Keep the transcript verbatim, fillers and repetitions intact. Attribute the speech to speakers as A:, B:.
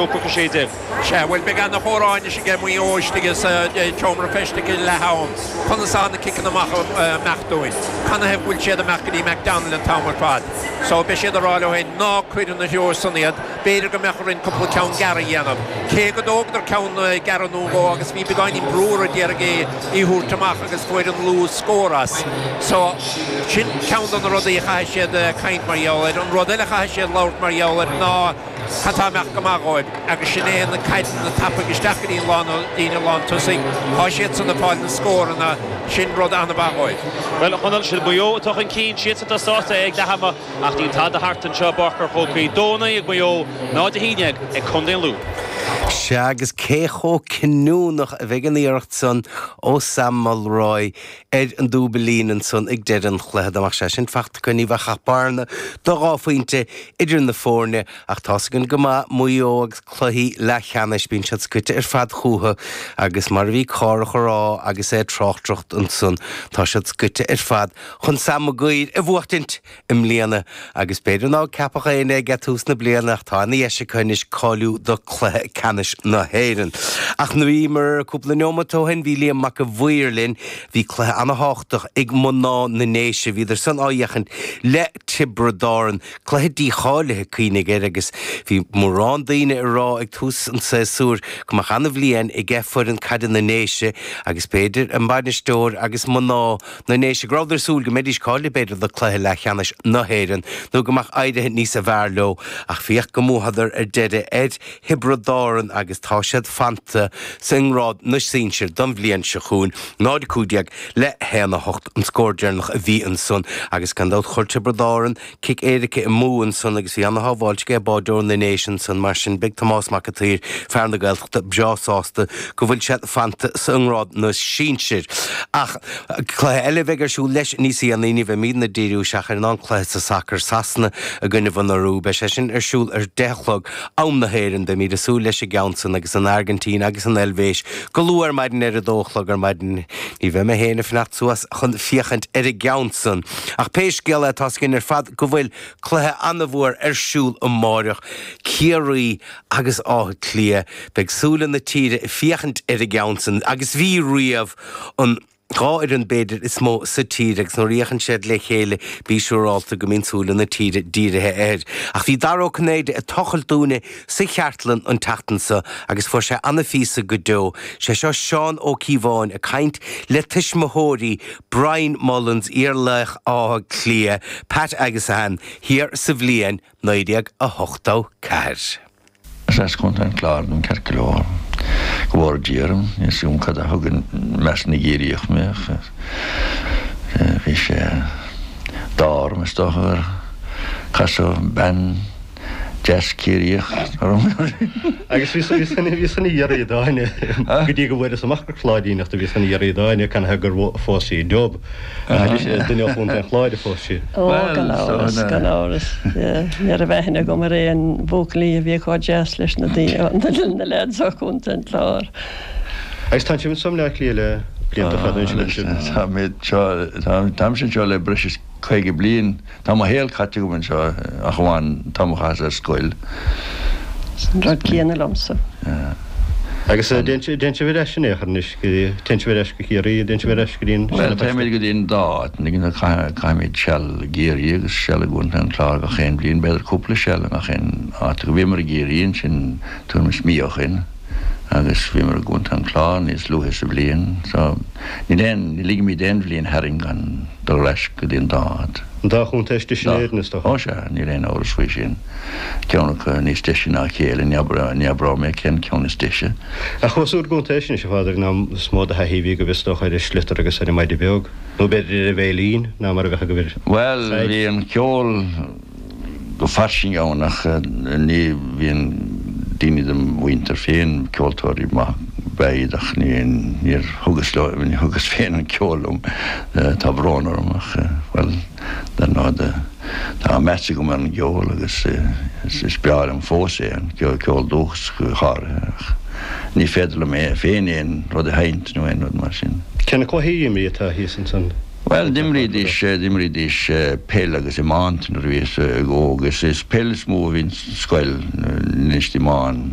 A: ocht a sé déag.
B: Sea, bhuel beidh an-chomhrá anois aige Maigh Eo istigh sa tseomra feistis ag leath am. Conas atá na ciceanna amach amach dúinn. Canathaobh bhfuil siad amach go dtí McDonald an t-am ar fad. So beidh siad ag rá leo féin ná cuir ina threo san iad, b'fhéidir go mbeadh orainn cúpla ceann gearr a dhéanamh. Cé go dtógadar ceann gearr nó dhó agus bhí beagáinín brú orthu d'iarraidh é a thabhairt amach agus fuair an Lú scór as. So sin ceann de na rudaí a chaithfidh siad caint mar gheall air. An rud eile a chaithfidh siad labhairt mar gheall air ná cad tá amach go maith dhóibh agus sin é na caideanna tapaidh isteach go dtí an lán líne lán tosaigh. Tá siad san ag fáil na scóranna sin rud an-mhaith dhóibh.
A: Well Chonaill siad Maigh Eo atá chun cinn siad atá sásta ag leath ama ach níl tada thart anseo i bPáirc an Chrócaigh dó naoi ag Maigh Eo náid a haon déag ag Contae an Lú.
C: Sea agus cé chomh cinniúnach a bheidh an iarracht san ó Sam Mulroy ar an dúbailín ansan ag deireadh an chluiche dá mbeadh sé sin fachta acu ní bheadh ach bearna do dhá phointe idir na foirne ach tá againn go maith Maigh Eo agus cluichí leathcheannais bíonn siad scoite ar fad chucu agus mar a bhí Cárthach ag rá agus é tráchtaireacht ansan tá siad scoite ar fad chun Sam Maguire a bhuachtaint i mbliana agus b'fhéidir ná ceapfadh éinne ag tús na bliana ach tá ana dheis acu anois cáiliú do cluiche ceannais na hÉireann. Ach nuair a bhíomar cúpla neomat ó shin bhí Liam Mac a Mhaoir linn, bhí cluiche an-tábhachtach ag mná na nDéise, bhíodar san á fhéachaint le Tiobraid Árann, cluiche dícháilithe cuimhnigh air agus bhí mórán daoine ag rá ag tús an tséasúir go mbeadh an-bhliain ag foireann caide na nDéise agus b'fhéidir an bainisteoir agus mná na nDéise go rabhadar ag súil go mbeidís cáilithe b'fhéidir do cluiche leathcheannais na hÉireann nó go mbeadh éirithe níos fearr leo ach féach go mbuadar ar deireadh ar Thiobraid Árann agus tá siad fanta sa ngrád na sinsir don bhliain seo chugainn náid cúig déag le haon a hocht an scór deireanach a bhí ansan agus gan dabht chuir Tiobraid Árann cic éirice amú ansan agus bhí ana-shábháilt ag báideoir na nDéise ansan mar sin beidh Tomás Mac an tSaoir fear na Gaeltachta breá sásta go bhfuil siad fanta sa ngrád na sinsir. Ach cluiche eile bheidh ar siúl leis níos déanaí ní bheimidne ag díriú isteach ar an cluiche sa sacar Sasana i gcoinne an Iorua beidh sé sin ar siúl ar deich a chlog am na hÉireann beimid ag súil leis an gceann san agus an Airgintín agus an Eilvéis go luath ar maidin ar a dó a chlog ar maidin ní bheidh mé féin ag fanacht suas chun féachaint ar an gceann san. Ach pé scéal é tá againn ar fad go bhfuil cluiche an-mhór ar siúl amárach Ciarraí agus Áth Cliath beidh súile na tíre ag féachaint ar an gceann san agus bhí riamh an dhá fhoireann b'fhéidir is mó sa tír agus nuair a fhéachann siad le chéile bí siúrálta go mbíonn súile na tíre dírithe air. Ach bhí Dara Ó Cinnéide ag tochailt dúinne sa cheartlann an tseachtain seo agus fuair sé an-phíosa go deo. Sé seo Seán Ó Cíobháin ag caint le tuismitheoirí Brian Mullins iarlaoch Átha Cliath, Pat agus Ann thiar sa bhliain naoi déag a hochtó ceathair.
D: Is as Contae an Chláir dom ceart go leor. Go bhfóire Dia orm, níl 'fhios agam cad a thug i measc na gCiarraíoch mé ach bhí sé d'ádh orm is dócha gur casadh bean deas Ciarraíoch orm.
E: Agus bhí san bhí san iarraidh dáine go dtí go bhfuaireas amach gur Cláiríneach do bhí san iarraidh dáine canathaobh gur phós sí Dub. Duine ó Chontae an Chláir a phós sí.
F: Ó gan amhras, gan amhras. Ní raibh aithne agam ar aon bhuachaillí a bhí chomh deas leis na daoine na lads ó Chontae an Chláir.
E: Agus tá sibh anso i mBleá Cliath le blianta fada anois.
D: Tá mé anseo, táimse anseo le breis is caoga bliain. Tá mo shaol caite agam anseo ach amháin an t-am a chaitheas ar scoil.
F: An rud céanna liomsa.
E: Agus téann sibh ar ais in aon chor anois, téann sibh ar ais go Ciarraí, téann sibh ar ais go dtí an
D: Bhuel, téimid go dtí an dá áit, caithimid seal i gCiarraí agus seal i gContae an Chláir gach aon bhliain, b'fhéidir cúpla seal i ngach aon áit. Bhíomar i gCiarraí ansin tuairim is mí ó shin agus bhíomar i gContae an Chláir níos luaithe sa bhliain. So, níl aon, ní ligimid aon bhliain tharainn gan dul ar ais go dtí an dá áit.
E: An dá chontae is deise in Éirinn, is dócha.
D: Ó sea, níl aon amhras faoi sin. Ceann acu níos deise ná a chéile, ní abróidh mé cén ceann is deise.
E: Ach chuas úr gcontae sin anois, a Phádraig, ná is mó de thaithí a bhí agaibh is dócha ar an sliotar agus ar an maide beag, nó b'fhéidir ar an veidhlín, ná mar a bheadh agaibh ar
D: Bhuel, bhí an ceol go fairsing ann ach ní bhíonn daoine de mo mhuintir féin, ceoltóirí maithe ab ea iad ach níor thugas leo, ní thugas féin an ceol liom, tá brón orm ach, bhuel, dar ndóigh tá meas agam ar an gceol agus is breá liom fós é, an ceol dúchasach go háirithe ach ní féidir liom é féin aon rud a sheinnt nó aon rud mar sin.
E: Cé na cluichí a imríodh thíos ansan?
D: Bhuel, d'imrídís, d'imrídís peil agus iomáint nuair a bhíos óg. Is peil is mó a bhí sa scoil, anois iomáint.